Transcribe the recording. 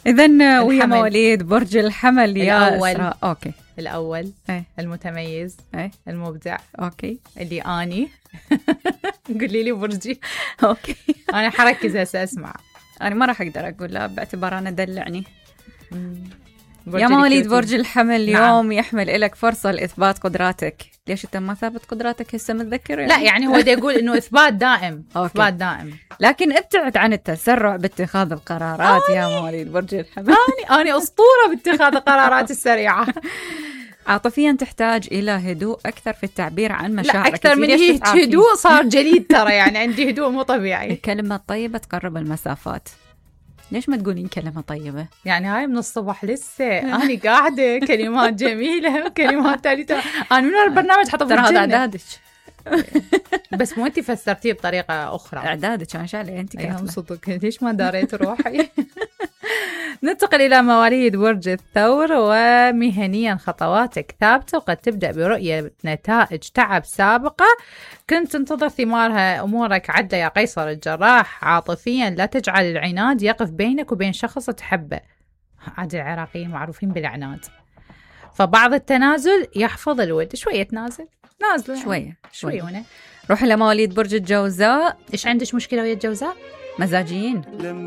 إذن ويا مواليد برج الحمل يا إسراء. أوكي. الأول المتميز المبدع. أوكي. اللي أني قولي لي برجي. أوكي. أنا حركز هسه أسمع. أنا ما راح أقدر أقول لا باعتبار أنا دلعني. يا مواليد برج الحمل اليوم يحمل إلك فرصة لإثبات قدراتك. ليش أنت ما ثابت قدراتك هسه متذكر يعني؟ لا يعني هو دا يقول إنه إثبات دائم. إثبات دائم، لكن ابتعد عن التسرع باتخاذ القرارات يا مواليد برج الحمل. أنا أسطورة باتخاذ القرارات السريعة. عاطفيا تحتاج إلى هدوء أكثر في التعبير عن مشاعرك. لا أكثر من هدوء صار جليد ترى، يعني عندي هدوء مو طبيعي. الكلمة الطيبة تقرب المسافات. ليش ما تقولين كلمة طيبة؟ يعني هاي من الصبح لسه أنا قاعدة كلمات جميلة وكلمات ثالثة. أنا من البرنامج حطب ترى هذا إعدادك. بس مو أنت فسرتيه بطريقة أخرى. إعدادك أنا شعلي أنت كاتبة. صدق ليش ما داريت روحي. ننتقل إلى مواليد برج الثور. ومهنيا خطواتك ثابتة وقد تبدأ برؤية نتائج تعب سابقة كنت تنتظر ثمارها. أمورك عدلة يا قيصر الجراح. عاطفيا لا تجعل العناد يقف بينك وبين شخص تحبه. عاد العراقيين معروفين بالعناد، فبعض التنازل يحفظ الود. شوية نازل شوية هنا. روح إلى مواليد برج الجوزاء. إيش عندك مشكلة ويا الجوزاء؟ مزاجيين.